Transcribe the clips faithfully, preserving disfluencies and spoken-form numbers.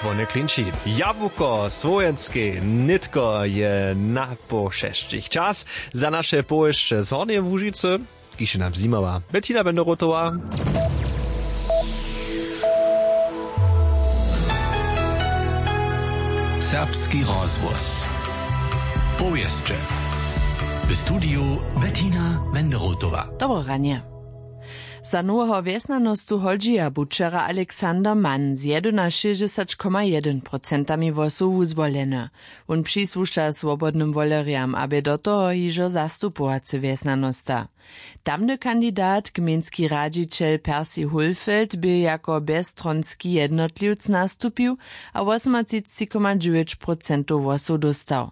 Wone klinči. Jabłuko słowjenskej nětko je na poł šesćich čas za naše powěsće z Hornjeje Łužicy, kiž je nam zjimała Bettina Benderotowa. Serbski rozhłos. Powěsće. W studiju Bettina Wenderotowa. Dobro ranje. Za noweho wjesnjanostu hodźija bu wčera Alexander Mann z jedynašěsćdźesat koma jedyn procentami hłosow wuzwoleny. Wón přisłuša swobodnym wolerjam a bě do toho hižo zastupowacy wjesnjanosta. Tamny kandidat, gmejnski radźićel Percy Hulfeld, bě jako bjezstronski jednotliwc nastupił a wosomatřicci koma dźewjeć procentow hłosow dóstał.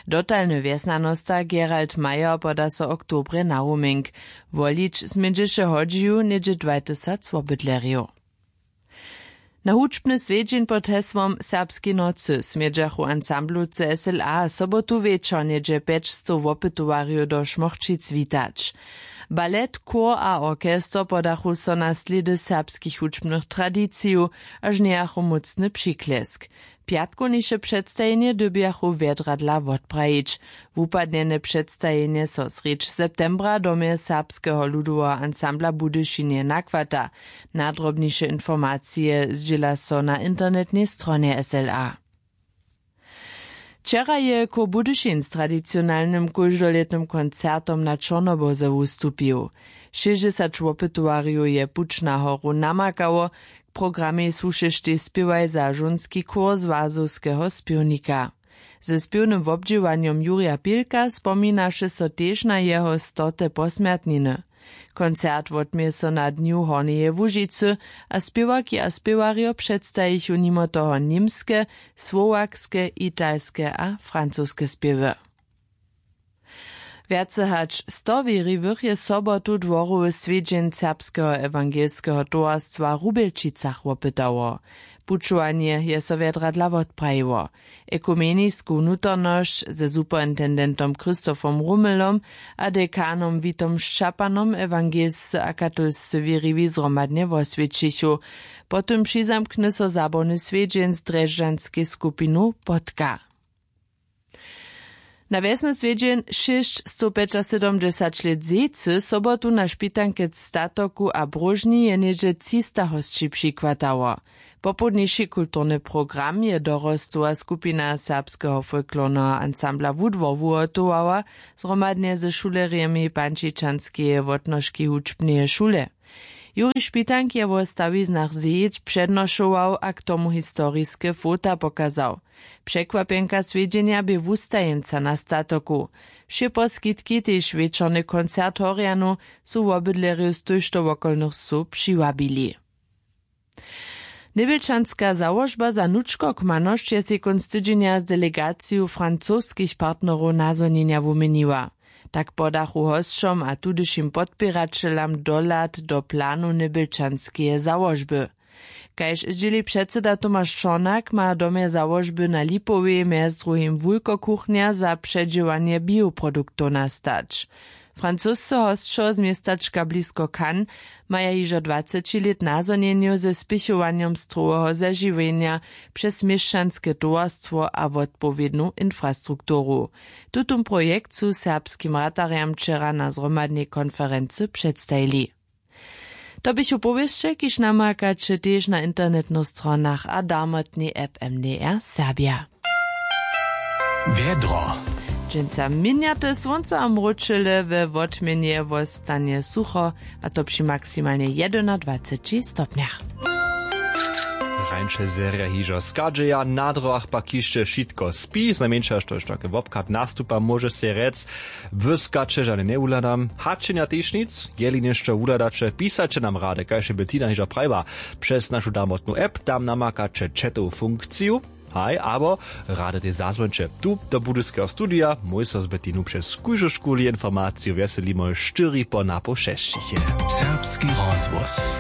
Dotalny wjesnjanosta Gerald Meyer poda so oktobrje na rumink. Wolić smědźeše hodźiju něhdźe dwajtysac wobydlerjow. Na hudźbny swjedźeń pod hesłom Serbskej nocy smědźachu ansamblowcy S L A sobotu wječor něhdźe pjećstow wopytowarjow do Šmochćic witać. Balet, chór a orchester podachu so na slědy serbskich hudźbnych tradicijow, a žnjejachu mócny přiklesk. Pjatkowniše předstajenje dyrbjachu wjedradla wotprajić. Wupadnjene předstajenje so srjedź septembra w domje Serbskeho ludoweho ansambla w Budyšinje nachwata. Nadrobniše informacije zdźěla so na internetnej stronje S L A. Wčera je chór Budyšin z tradicionalnym kóždolětnym koncertom na Čornoboze wustupił. Šěsćdźesać wopytowarjow je puć na horu namakało. K programej słušeštej spěwaj za žónski chór złazowskeho spěwnika. Ze spěwnym wobdźěłanjom Jurja Pilka spominaše so tež na jeho stote posmjertniny. Koncert wotměje so na dnju Hornjeje Łužicy a spěwarki a spěwarjo předstajichu nimo toho němske, słowakske, italske a francoske spěwy. Wjace hač sto wěriwych je sobotu dworowy swjedźeń Serbskeho ewangelskeho towarstwa w Rubjelčicach wopytało. Pućowanje je so wjedradla wotprajiło. Ekumenisku nutornosć ze superintendentom Christophom Rumelom a dekanom Witom Šćapanom ewangelscy a katolscy wěriwi zhromadnje woswjećichu. Po tym přizamkny so zabawny swjedźeń z drježdźanskej skupinu Potka. Na wjesny swjedźeń šěsćstowpjećasydomdźesać lět zejcy sobotu na špitankec statoku a bróžni je něhdźe třista hosći přichwatało. Popołdniši kulturny program je dorostowa skupina serbskeho folklorneho ansambla Wudwor wuhotowała zhromadnje ze šulerjemi pančičanskeje wotnožki hudźbneje šule. Juri Špitank je wo stawiznach zejc přednošował a k tomu historiske fota pokazał. Překwapjenka swjedźenja bě wustajeńca na statoku. Wšě poskitki, tež wječorny koncert horjanow, su wobydlerjow z tójšto wokolnych wsow přiwabili. Njebjelčanska załožba za nučkokmanosć je sej kónc tydźenja z delegaciju francoskich partnerow nazhonjenja wuměniła. Tak podachu hosćom a tudyšim podpěraćelam dohlad do planow njebjelčanskeje załožby. Kaž zdźěli předsyda Tomaš Čornak, ma w domje załožby na Lipowej mjez druhim wulkokuchnja za předźěłanje bioproduktow nastać. Francosce hosćo z městačka blisko Cannes maja hižo dwaceći lět nazhonjenjow ze spěchowanjom stroweho zežiwjenja přez měšćanske towarstwo a wotpowědnu infrastrukturu. Tutón projekt su serbskim ratarjam wčera na zhromadnej konferency předstajili. To běchu powěsće, kiž namakaće tež na internetnych stronach a darmotnej app M D R Serbia. Wjedro. Dźensa měnjate słónco a mróčele, we wotměnje wostanje sucho, a to při maksimalnje jedynadwaceći stopnjach. Rańše zerja hižo schadźeja, na drogach pak hišće wšitko spi, znajmjeńša štož take wobchad nastupa, móže sej rjec, błyskaće žane njewuhladam. Hačenja tež nic. Jeli něšto wuhladaće, pisaće nam rady, kaž je Bettina hižo prajiła, přez našu darmotnu app. Tam namakaće chatowu funkciju. Haj, abo rady tež zazwońće tu do budyskeho studija. Mój so z Bettinu přez kóždu škuli informaciju wjeselimy štyri po napoł šesćich. Serbski rozhłos.